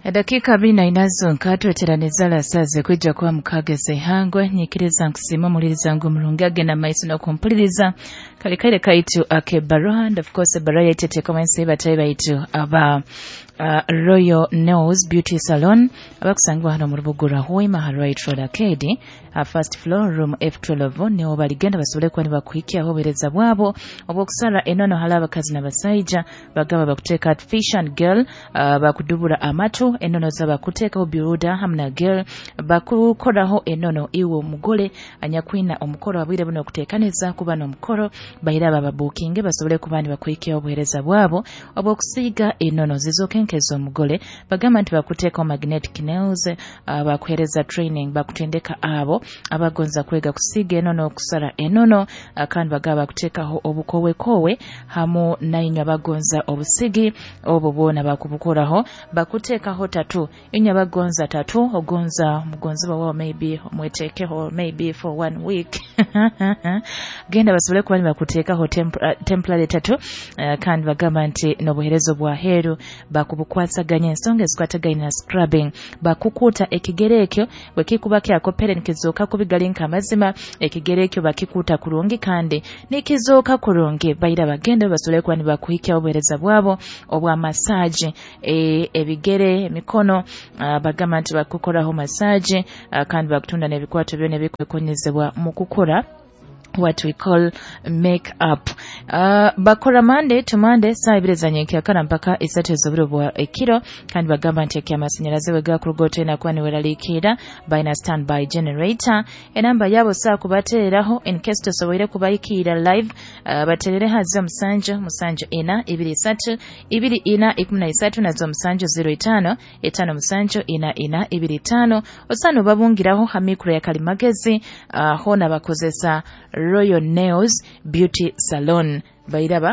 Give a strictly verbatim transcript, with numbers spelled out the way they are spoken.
Edakika abiri na ina zonka tweteraniza lasaze kwijja kuba mukageze ihangwe. Nyikiriza nkusima omuliriza ngu omurungi agenda maiso n'okumpuliriza kali kaire kaitu akebaroha. And of course ebaroha yaitu eteekwa ensi batayi baitu aba uh, Royal Nails Beauty Salon abakusangibwa hano mu rubuga rwa Hoima ha Right Road Arcade, uh, first floor, room F twelve, niho baligenda basobole kuba nibakuhikyaho obuheereza bwabo obw'okusara enono hali abakazi n'abasaija. Bagaba bakuteeka artificial and gel, uh, bakudubura amatu, enono zabakuteekaho builder hamu na gel, bakukoraho enono iwe omugole anyakwina omukoro abwire buno okuteekaniza kuba n'omukoro. Bahira bababukinge basobole kuba nibakuhikyaho obuheereza bwabo obw'okusiiga enono zizooke nk'ez'omugole. Bagamba nti bakuteekaho magnetic nails, uh, bakuheereza training, bakutendeka abo abagonza kwega kusiiga enono, okusara enono, uh, kandi bagaba bakuteekaho obukowekowe hamu nainywe abagonza obusigi obwo bwona bakubukoraho. Bakuteekaho tattoo, inywe abagonza tattoo, ogonza mugonzibwa wawe maybe omweteekeho maybe for one week, genda basobole kuba nibakuteekaho temp- temporary tattoo. uh, kandi bagamba nti n'obuheereza obwaheeru bakubukwasaganya, ensonga ezikwatagaine na scrubbing, bakukuuta ekigere ekyo bwe kikuba kyakopere nikizooka kubi gali nk'amazima, ekigere ekyo bakikuuta kurungi kandi nikizooka kurungi. Baira bagende basobole kuba nibakuhikyaho obuheereza bwabo obwa massage, e, ebigere, emikono, uh, bagamba nti bakukoraho massage, uh, kandi bakutunda n'ebikwato byona ebikwekonyezebwa mu kukora what we call make up. uh, bakora Monday to Monday, saa ibiri za nyenkyakara mpaka isatu ez'oburo bwa ekiro. Kandi bagamba nti ekyamasanyalaze bwe gakuruga otolina kuba niweraliikirira, balina standby generator. Enamba yabo saa kubateereraho in case tosoboire kubayikiira live, uh, baterere hazo musanju musanju ina ibiri isatu ibiri ina ikumi na isatu, nazo musanju zero itaano etaano musanju ina ina ibiri itaano. Osaana obabungiraho ha mikro ya kalimagezi, uh, hoona bakozesa Royal Nails Beauty Salon bairaba.